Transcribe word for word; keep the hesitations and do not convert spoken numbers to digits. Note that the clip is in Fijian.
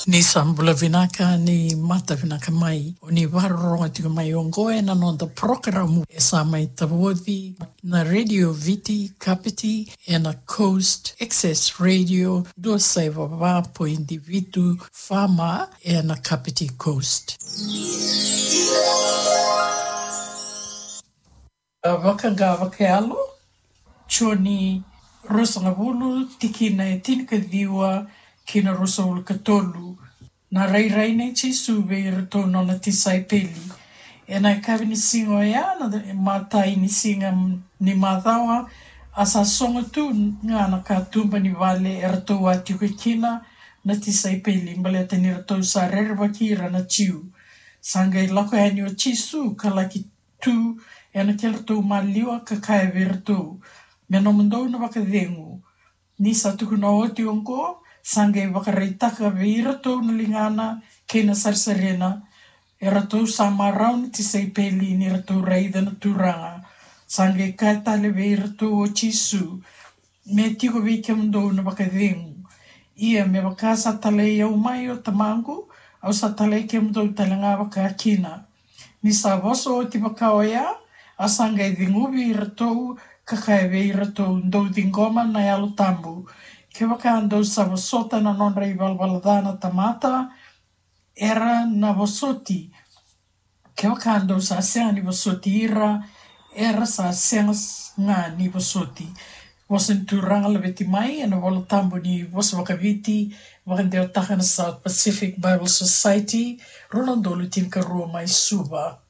Ni sa bula vinaka, ni mata vinaka mai. O ni vakarorogo tiko mai oqo ena noda porokaramu e sa mai tavoci na Radio Viti Kapiti ena Coast Access Radio dua saiva va poidi vitu F M ena Kapiti Coast. A, Vakaqa Vakayalo, Joni ruasagavulu, tikina e tinikaciwa ki na ruasagavulu ka tolu. Na rairai nei Jisu vei iratou nona tisaipeli. Ena yakavi ni siga oya, na imatai ni siga ni macawa, a sa sogo tu ga na katuba ni vale eratou a tiko kina na tisaipeli, baleta ni ratou sa rerevaki ira na Jiu. Sa qai lako yani o Jisu ka laki tu ena kedratou maliwa ka kaya vei iratou, "Me nomudou na vakacegu." Ni sa tukuna oti oqo, sa qai vakaraitaka vei iratou na ligana kei na sarisarina. Eratou sa marau na tisaipeli ni ratou raica na Turaga. Sa qai kaya tale vei iratou o Jisu, "Me tiko vei kemudou na vakacegu. Ia me vaka sa talai au mai o Tamaqu, au sa talai kemudou tale ga vakakina." Ni sa vosa oti vaka oya, a sa qai ceguvi iratou ka kaya vei iratou, "Dou ciqoma na Yalo Tabu. Kevaka dou sa vosota na nodra ivalavala ca na tamata, era na vosoti. Kevaka dou sa sega ni vosoti ira, era sa sega s-, ga ni vosoti." Vosa ni Turaga laveti mai ena Vola Tabu ni vosa vakaViti, vakadewataka na South Pacific Bible Society, rua na udolu tinikarua, mai Suva.